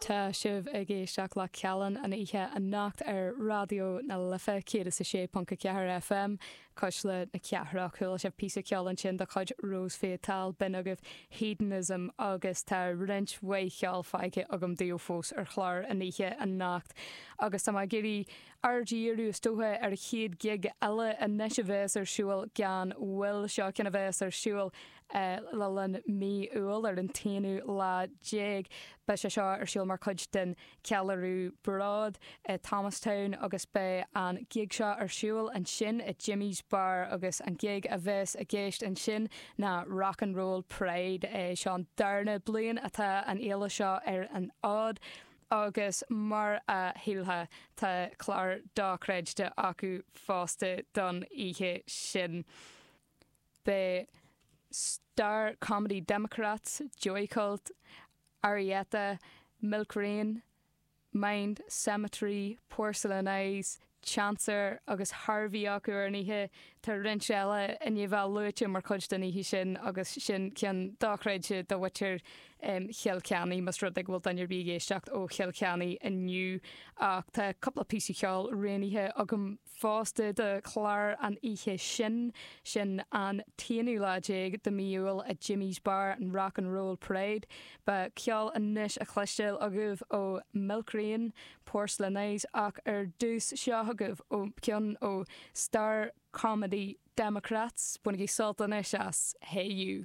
Tá sibh ag éisteacht le Callán an oíche anocht ar Raidió na Life 106.4 FM, Cuisle na Cathrach. Chuala sibh píosa ceoil ansin de chuid Rose Fatale, b'in agaibh Hedonism agus tá roinnt mhaith cheoil fágtha agam daoibh fós ar chlár an oíche anocht agus tá mé ag iarraidh aird a dhíriú is dócha ar an chéad ghig eile anois a bheas ar siúl gan mhoill. Seo ceann a bheas ar siúl le linn mí Iúil ar an t-aonú lá déag. Beidh sé seo ar siúl mar chuid den cheiliúradh Bród i Thomastown agus beidh an gig seo ar siúl ansin i Jimmy's Bar agus an gig a bheas i gceist ansin ná Rock and Roll Pride. Seo an darna bliain atá an fhéile seo ar an fhód agus mar a shílfeá tá clár dochreidte acu fosta don oíche sin. Beidh Star Comedy Democrats, Joycult, Arietta, Milk Rain, Mind Cemetery, Porcelain Eyes, Chancer agus Harvey acu ar an oíche. Tá roinnt eile i ndiaidh bheith luaite mar chuid den oíche sin agus sin ceann dochreidte do mhuintir Chill Chainnigh, más rud é go bhfuil duine ar bith ag éisteacht ó Chill Chainnigh inniu. Ach tá cúpla píosa ceoil roghnaithe agam fosta do chlár an oíche sin, sin an t-aonú lá déag de mí Iúil i Jimmy's Bar, an Rock and Roll Parade. Beidh ceol anois á chloisteáil agaibh ó Milk Rain, Porcelain Eyes ach ar dtús seo chugaibh ó ceann ó Star Comedy Democrats. Bainigí sult anois as Hey You.